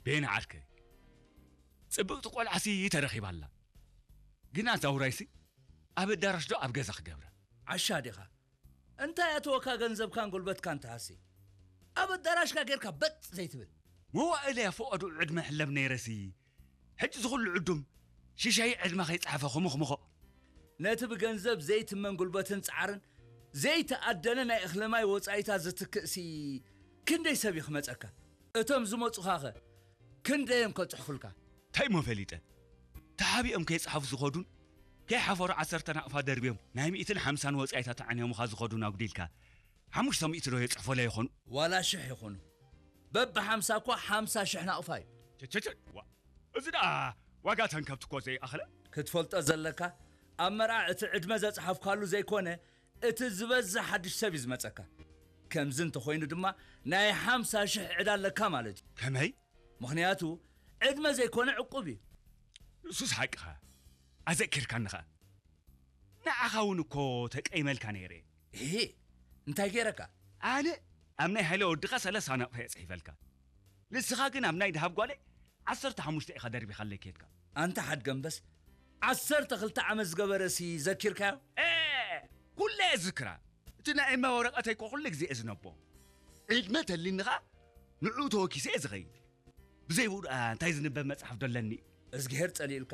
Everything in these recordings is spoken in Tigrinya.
ቤን ዓርከይ፣ ጽብቕቲ ቆልዓሲ ተረኺባ ኣላ። ግና እዛ ውራይሲ ኣብ ኣዳራሽ ዶ ኣብ ገዛ ክገብራ? ዓሻ ዲኻ? እንታይ ኣተወካ ገንዘብካን ጉልበትካን ትሃሲ? ኣብ ኣዳራሽካ ጌርካ በጥ ዘይትብል? መዋእለያ ፍቓዱ ዕድመ ሕለብ ነይረሲ፣ ሕጂ ዝኹሉ ዕዱም ሽሻይ ዕድመ ከይጸሓፈ ክሙኽሙኾ። ነቲ ብገንዘብ ዘይትመን ጉልበትን ጻዕርን ዘይተኣደነ ናይ እኽሊ ማይ ወጻኢታት ዝትክእሲ ክንደይ ሰብ እዩ ክመጸካ? እቶም ዝመጹኻኸ ክንደዮም ከጽሕፉልካ? እንታይ እሞ ፈሊጠ? ተሓቢኦም ከይጸሓፉ ዝኸዱን ከይሓፈሩ ዓሰርተ ናቕፋ ደርብዮም ናይ ሚእትን ሓምሳን ወጻኢታት ኣዕንዮምኻ ዝኸዱን ኣጉዲልካ፣ ሓሙሽተ ሚእቲ ዶ የጽሕፎ ለ ይኾኑ? ዋላ ሽሕ ይኹኑ፣ በብሓምሳ እኳ ሓምሳ ሽሕ ናቕፋ እዩ። ቸቸቸ፣ ዋ፣ እዚ ደኣ ዋጋ ተንከብቲ እኮ ዘይኣኽለ። ክትፈልጦ ዘለካ፣ ኣብ መርዓ እቲ ዕድመ ዘጽሓፍካሉ ዘይኮነ፣ እቲ ዝበዝሕ ሓድሽ ሰብ እዩ ዝመጸካ። ከምዚ እንተኾይኑ ድማ ናይ ሓምሳ ሽሕ ዕዳ ኣለካ ማለት እዩ። ከመይ? ምኽንያቱ ዕድመ ዘይኮነ ዕቁብ እዩ። ንሱስ ሓቅኻ። ኣዘኪርካኒ ኸኣ። ንዓኻ እውን እኮ ተቀይመልካ ነይረ። እሂ፣ እንታይ ገይረካ? ኣነ ኣብ ናይ ሃይለ ወድኻ ሰለስተ ናቕፋ እየ ጽሒፈልካ። ንስኻ ግን ኣብ ናይ ደሃብ ጓለይ ዓሰርተ ሓሙሽተ ኢኻ ደርቢኻለይ ከድካ። ኣንታ ሓድገምበስ፣ ዓሰርተ ክልተ ዓመት ዝገበረሲ ዘኪርካዮ? ኤ! ኩለ እየ ዝዝክራ። እቲ ናይ እማ ወረቐተይ እኮ ኩሉ ግዜ እየ ዝነቦ። ዕድመ ተሊኒ ኸኣ ንዕኡ ተወኪሰ እየ ዝኸይድ። ብዘይ ብኡ ደኣ እንታይ ዝንበብ መጽሓፍ ዶ ኣለኒ? እዝግሄር ጸሊእልካ።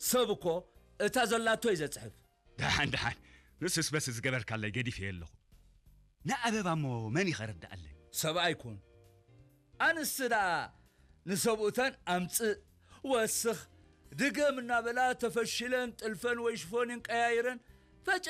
ሰብ እኮ እታ ዘላቶ እዩ ዘጽሕፍ። ደሓን፣ ደሓን። ንሱስ በስ ዝገበርካለይ ገዲፈዮ ኣለኹ። ንኣበባ እሞ መን እዩ ከረድኣለይ? ሰብኣይ ኩን። ኣንስቲ ደኣ ንሰብኡተን ኣምጽእ፣ ወስኽ፣ ድገም እናበላ ተፈሽለን ጥልፈን ወይ ሽፎንን ቀያይረን ፈጨ